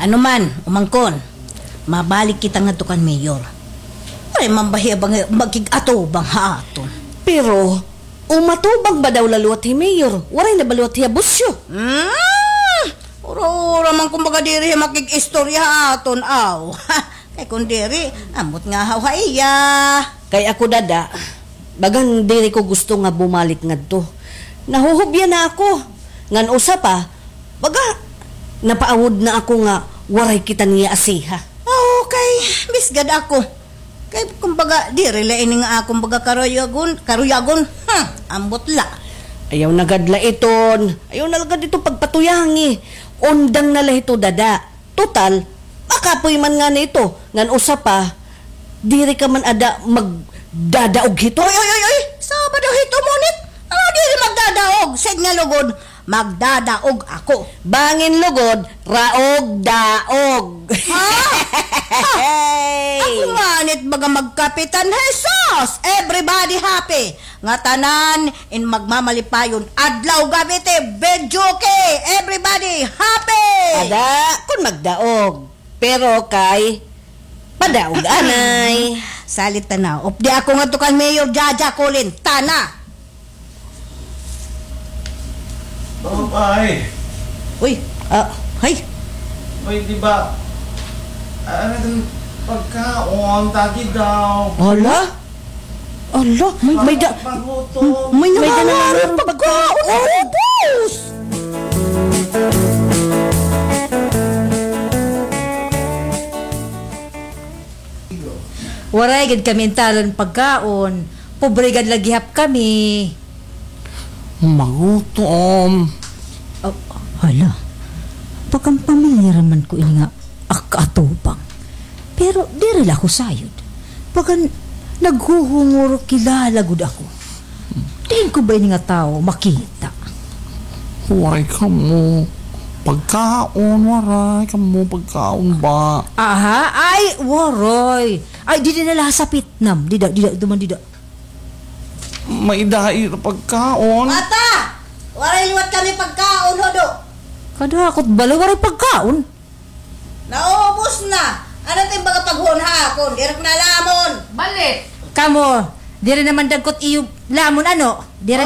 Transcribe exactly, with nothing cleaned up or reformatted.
Ano man, umangkon, mabalik kita ngadto kan mayor. Waray man ba hiya ba nga makig-atubang ha aton? Pero, umatubang ba daw la liwat hi mayor? Waray na ba liwat hiya busyo? Hmm, ura-ura man kumbaga diri hiya makig-istorya ha aton, aw. Kay kun diri, ambot ngahaw ha iya. Kay ako, dada, bagan diri ko gusto nga bumalik ngadto. Nahuhubya na ako. Ngan usa pa, baga, napaawod na ako nga waray kita niya asiha. Oo, kay, bisgad ako. Kay, kumbaga, diri la ini nga akon baga karuyagon, karuyagon. Hmm, ambot la. Ayaw na gad la iton. Ayaw na la gad iton pagpatuyangi. Undang na la ito, dada. Total, makapoy man ngani ito. Ngan usa pa, diri ka man ada magdadaog hito. Oy, oy, oy, oy! Saba daw hito, ngunit? Ano diri magdadaog? Sige nga lugod, magdadaog ako. Bangin lugod, raog daog. Ha? Hey! Ako nganit baga magkapitan, Jesus! Everybody happy. Ngatanan in magmamalipayon, adlaw gab-i ti videoke. Everybody happy! Ada, kun magdaog. Pero kay padaog anay. Salit tana. Updi ako ngadto kan Mayor Jaja Colin. Tana. Oh, ay. Uy, ah, hay. Uy, di ba? Ah, ano itong pagkaon? Tagi daw. Hala? Ala, may, may da-, may, may da na naman pagkaon. Ubos! Waray gid kami intalan pagkaon. Pobre gad la gihap kami. Magutom. Oh, hala. Bagan pamilyar man ko ini nga ak-atubang. Pero diri la ako sayod. Bagan naghuhungor kilala gud ako. Diin ko ba ini nga tawo makita? Waray kamo pagkaon, waray kamo pagkaon ba? Aha, ay, waray. Ay, dida na la ha sapitnam. Dida, dida, duman dida. May dai ra pagkaon. Bata! Waray liwat kami pagkaon, hudo. Kadakot bala, waray pagkaon. Naubos na. Ano it im baga paghuon ha akon? Diri ko na lamon. Balit. Kamo, diri naman dagkot iyo lamon, ano? Diri